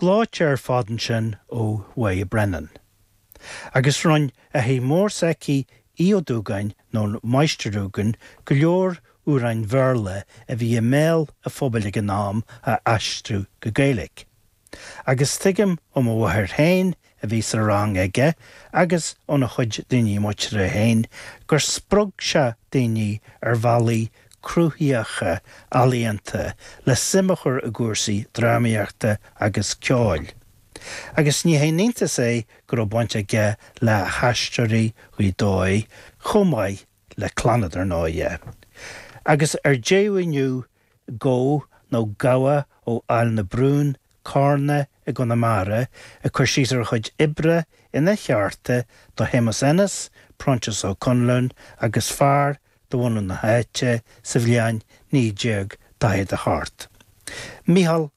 Gleoite ar fad ansin ó Mháire Brennan. Agus rinn athair mór s'aici Aodh Ó Dúgáin nó Máistir Dúgan go leor amhráin Bhéarla a bhí i mbéal a phobail ag an am a aistriú go Gaeilge. Agus tuigim ó mo mháthair féin a bhí sa rang aige agus óna chuid daoine muinteartha féin gur spreag sé daoine ar bhealaí cruthaitheacha ealaíonta le suim a chur i gcúrsaí drámaíochta agus ceoil. Agus ní haon iontas é go raibh baint aige le hAisteoirí Ghaoth Dobhair chomh maith le Clannad ar ndóighe. Agus ar deireadh inniu Gó nó gabha ó Aill na Brún, Cárna i gConamara, ag cur síos ar a chuid oibre ina cheárta do Shéamus Ennis, Proinsias Ó Conluain agus fear de bhunadh na háite sa bhliain 1948. Mícheál